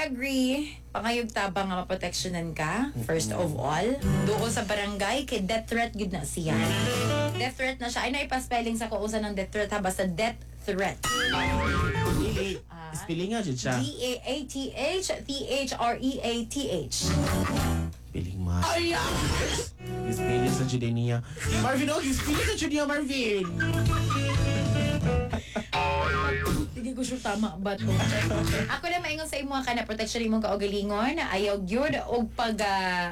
agree. Pangayog tabang nga maproteksyonan ka, first of all. Duol sa barangay, kay death threat gud na siya. Death threat na siya. Ay, naipa-spelling sa kung usa ng death threat ha. Basta death threat. Dili. Spelling nga jud siya. DAATH THREATH. Piling ma. Ay! Spelling sa jud niya. Marvin, oh, spelling sa jud niya, Marvin. Hindi ko sure tama ba to. Ako lang maingon sa imo ka na protection imong kaugalingon, ayaw gyud og pag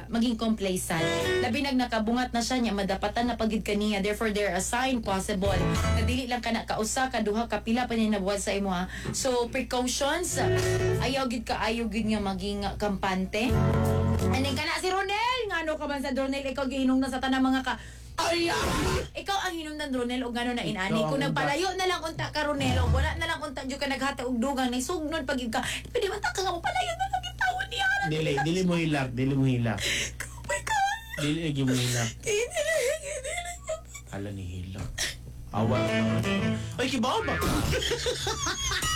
maging complacent. Labi nag nakabungat na siya niya, madapatan na pagid kaniya. Therefore there a sign possible na dili lang kana kausa, kaduha, kapila pa niya nabuhat sa imo ha. So precautions, ayaw gyud ka, ayaw gyud nga maging kampante. And then kana si Ronel, ngano ka man sa Ronel, ikaw gihinungdan sa tanang mga ka. Ay! Ikaw ang hinungdan, Ronel, og ngano na inani. Ikaw Kung ang nagpalayo na lang unta ka, Ronel, og wala na lang unta jud ka naghatag og dugang, naisugnod pag ka. Pwede man ta ka nga mo palayo na lang gitawon niya. Dili, dili mo hilak, dili mo hilak. Oh my God. Dili lagi mo hilak. Dili. Hala ni hilak. Awa. Ay, kibaw ba ka?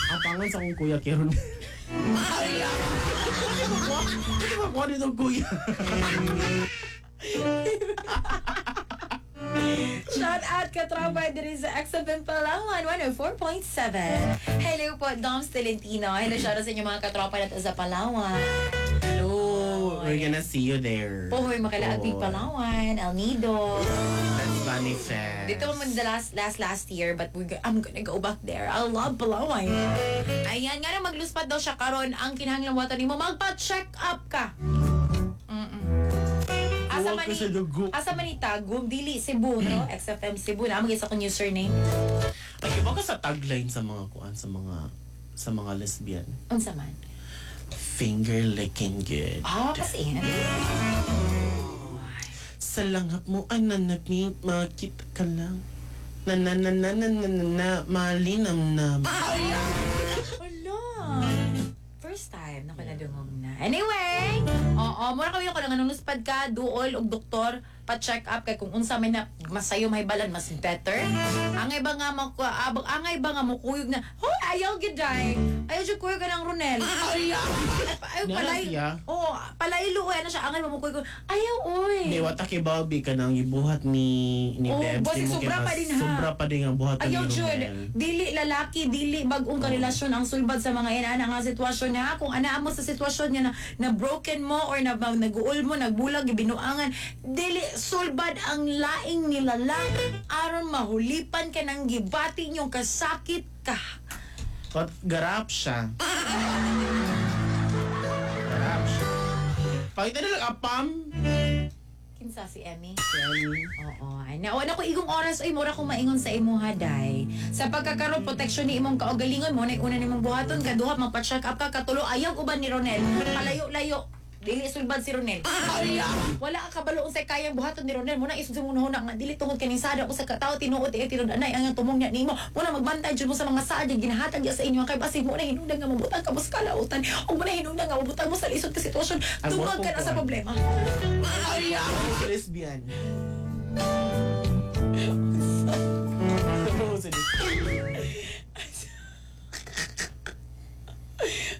Ang pangan sa akong kuya kay Ronel. Ay! Hindi ba kuha nitong kuya? Shout out katropa diri sa XFM Palawan 104.7. Hello po, Doms Tolentino. Hello, shout out sa inyo mga katropa nato sa Palawan. Hello! We're gonna see you there. Pohoy makalaag Oh. Palawan, El Nido. Let's manifest. Dito man the last last last year, but I'm gonna go back there. I love Palawan. Ayan, nga na magluspat daw siya karon, ang kinahanglan wato nimo magpa-check up ka. Asa Huwag man ka ni sa dugo. Asa man ni Tagum, dili Cebu, no? XFM Cebu na among isa akong username. Ay, iba ka sa tagline sa mga kuan, sa mga lesbian. Unsa man? Finger licking good. Ah, kasi Sa langhap mo ay nanapit, makita ka lang. Na na na na na na na na, malinamnam. Hala. First time na ko nadungog na. Anyway, oo, mura kami ko lang anong luspad ka, duol og doktor, pa-check up kay kung unsa may na masayo mahibalan mas better. Angay ba nga mo abang angay ba nga mukuyog na, hoy, ayaw gid day. Ayaw jud kuyog ka ng Ronel. Ay, ayaw Nara palay. siya? Oo, palaylo oy ano siya angay ba mukuyog. Ayaw oy. Di wata kay Bobby ka nang ibuhat ni Oo, Bebs. basi Di mo sobra kay pa mas- din, ha? Sobra pa din ang buhat ni Ayaw jud, Romel. dili lalaki, dili bagong karelasyon ang sulbad sa mga inana nga sitwasyon ha. Kung anaa mo sa sitwasyon nga na broken mo or na naguol mo, nagbulag, gibinuangan, dili sulbad ang laing nilalang aron mahulipan ka ng gibati niyong kasakit ka. But garap siya. Garap siya. Pakita na lang apam. Kinsa si Emmy? Emmy. Oo, ay na wala ko igong oras ay mura kong maingon sa imo haday. Sa pagkakaroon protection ni imong kaugalingon mo na una nimong buhaton, kaduha magpa-check up ka, katulo ayaw uban ni Ronel. Palayo-layo. Dili sulbad si Ronel. Wala ka kabalo unsay kayang buhaton ni Ronel. Muna isod mo na nga dili tungod kaning sada ko sa katao tinuod eh tinuod anay ang tumong niya nimo. Muna magbantay jud mo sa mga saad nga ginahatag niya sa inyo kay basig mo na hinungdan nga mabutang ka mo sa kalautan o mo na hinungdan nga mabutang mo sa lisod ka sitwasyon. Ay, Tungod ka na sa mura ko, problema. Lesbian. Sa lesbian.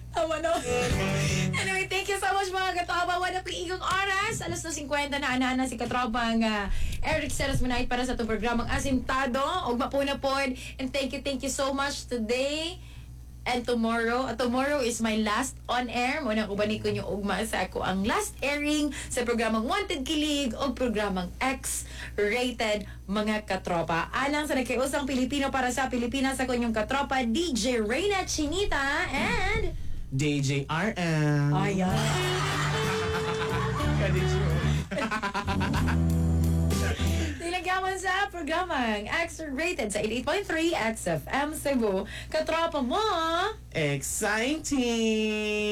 Tama no? Anyway, thank you so much mga katropa. Wala ko igong oras. Alas 2:50 na ana si katropang Eric Ceres Manait para sa itong programang Asintado. Ug mapuna pod. And thank you so much today and tomorrow. Tomorrow is my last on air. Muna uban ko nyo ugma sa ako ang last airing sa programang Wanted Kilig o programang X-Rated mga katropa. Alang sa nagkiusang Pilipino para sa Pilipinas, ako inyong katropa DJ Reyna Chinita and DJRM. Ayan. Ka-DJ. Nilagyaman sa programang X-Rated sa 88.3 XFM Cebu. Katropa mo! Exciting!